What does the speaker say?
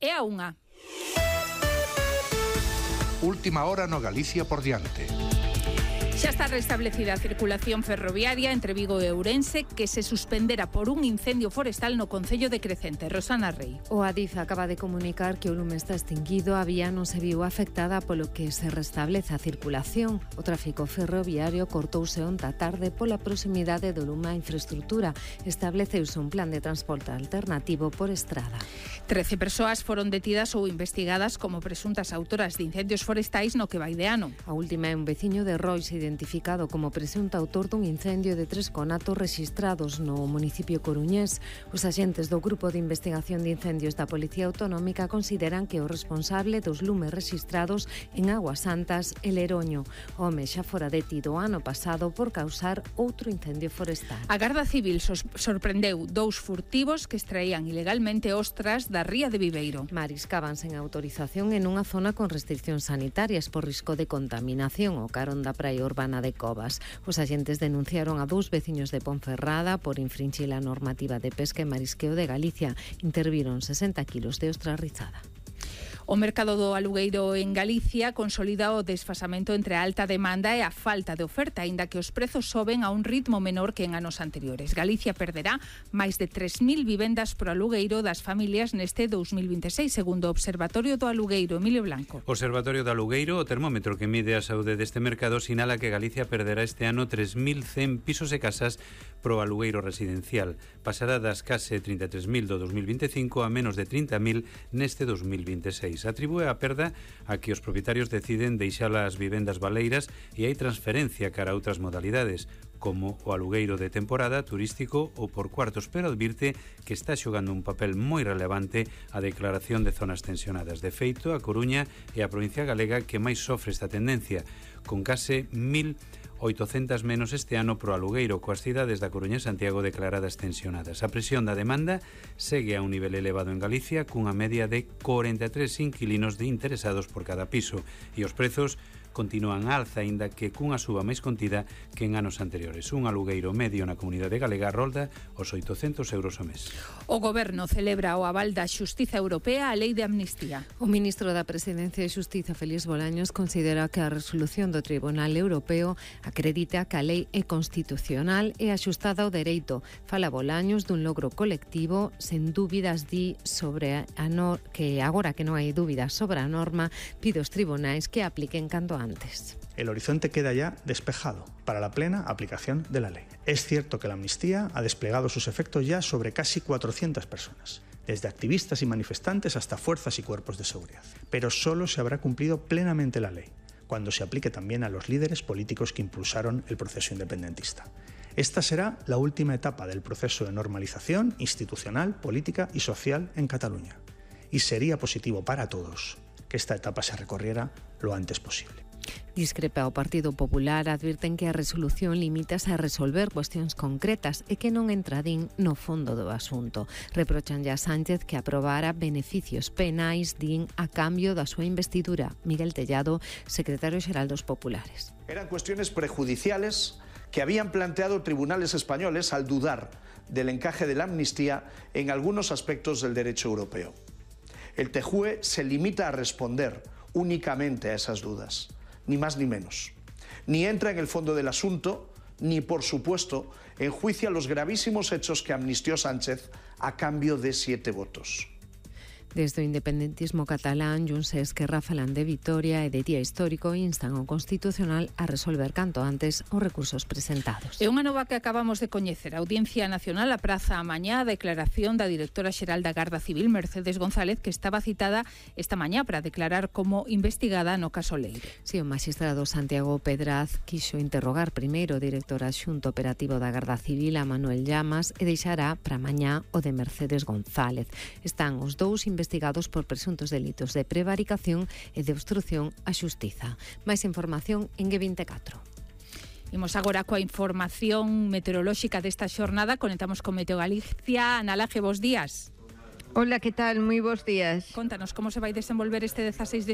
e a 1. Última hora no Galicia por diante. Xa está restablecida a circulación ferroviaria entre Vigo e Ourense, que se suspendera por un incendio forestal no concello de Crecente. Rosana Rei. O Adif acaba de comunicar que o lume está extinguido, a vía non se viu afectada, polo que se restablece a circulación. O tráfico ferroviario cortouse onta tarde pola proximidade do lume á infraestrutura. Estableceuse un plan de transporte alternativo por estrada. 13 persoas foron detidas ou investigadas como presuntas autoras de incendios forestais no que vai de ano. A última é un veciño de Rois, identificado como presunto autor dun incendio de 3 conatos rexistrados no municipio coruñés. Os axentes do Grupo de Investigación de Incendios da Policía Autonómica consideran que o responsable dos lumes rexistrados en Aguas Santas é Leroño. O home xa fora detido ano pasado por causar outro incendio forestal. A Garda Civil sorprendeu 2 furtivos que extraían ilegalmente ostras da ría de Viveiro. Mariscaban sen autorización en unha zona con restriccións sanitarias por risco de contaminación o carón da praia urbana de Covas. Os axentes denunciaron a 2 veciños de Ponferrada por infringir a normativa de pesca e marisqueo de Galicia. Interviron 60 kilos de ostra rizada. O mercado do alugueiro en Galicia consolida o desfasamento entre a alta demanda e a falta de oferta, aínda que os prezos soben a un ritmo menor que en anos anteriores. Galicia perderá máis de 3.000 vivendas por alugueiro das familias neste 2026, segundo o Observatorio do Alugueiro. Emilio Blanco. Observatorio do Alugueiro, o termómetro que mide a saúde deste mercado, sinala que Galicia perderá este ano 3.100 pisos e casas pro alugueiro residencial. Pasará das case 33.000 do 2025 a menos de 30.000 neste 2026. Atribúe a perda a que os propietarios deciden deixar as vivendas baleiras e hai transferencia cara a outras modalidades, como o alugueiro de temporada, turístico ou por cuartos, pero advirte que está xogando un papel moi relevante a declaración de zonas tensionadas. De feito, a Coruña é a provincia galega que máis sofre esta tendencia, con case 1.800 menos este ano pro alugueiro, coas cidades da Coruña e Santiago declaradas tensionadas. A presión da demanda segue a un nivel elevado en Galicia, cunha media de 43 inquilinos de interesados por cada piso, e os prezos continúan a alza, aínda que cunha suba máis contida que en anos anteriores. Un alugueiro medio na comunidade galega rolda os 800 euros ao mes. O Goberno celebra o aval da Xustiza Europea á Lei de Amnistía. O ministro da Presidencia e Xustiza, Félix Bolaños, considera que a resolución do Tribunal Europeo acredita que a lei é constitucional e axustada ao dereito. Fala Bolaños dun logro colectivo, sen dúbidas di sobre que agora que non hai dúbidas sobre a norma, pide aos tribunais que apliquen canto antes. El horizonte queda ya despejado para la plena aplicación de la ley. Es cierto que la amnistía ha desplegado sus efectos ya sobre casi 400 personas, desde activistas y manifestantes hasta fuerzas y cuerpos de seguridad. Pero solo se habrá cumplido plenamente la ley cuando se aplique también a los líderes políticos que impulsaron el proceso independentista. Esta será la última etapa del proceso de normalización institucional, política y social en Cataluña. Y sería positivo para todos que esta etapa se recorriera lo antes posible. Discrepa o Partido Popular, advirten que a resolución limítase a resolver cuestións concretas e que non entradín no fondo do asunto. Reprochan a Sánchez que aprobara beneficios penais, din, a cambio da súa investidura. Miguel Tellado, secretario xeral dos Populares. Eran cuestiones prejudiciales que habían planteado tribunales españoles al dudar del encaje de la amnistía en algunos aspectos del derecho europeo. El TJUE se limita a responder únicamente a esas dudas, ni más ni menos. Ni entra en el fondo del asunto, ni, por supuesto, enjuicia los gravísimos hechos que amnistió Sánchez a cambio de 7 votos. Desde o independentismo catalán, Junts e Esquerra falan de vitoria e de día histórico e instan ao Constitucional a resolver canto antes os recursos presentados. É unha nova que acabamos de coñecer. A Audiencia Nacional apraza a mañá a declaración da directora xeral da Garda Civil, Mercedes González, que estaba citada esta mañá para declarar como investigada no caso Leire. Si, o magistrado Santiago Pedraz quixo interrogar primeiro o director adxunto operativo da Garda Civil, a Manuel Llamas, e deixará para mañá o de Mercedes González. Están os dous investigados por presuntos delitos de prevaricación e de obstrución á xustiza. Máis información en G24. Imos agora coa información meteorolóxica desta xornada. Conectamos con Meteo Galicia. Ana Laje, bos días. Hola, que tal? Moi bons días. Contanos como se vai desenvolver este 16 de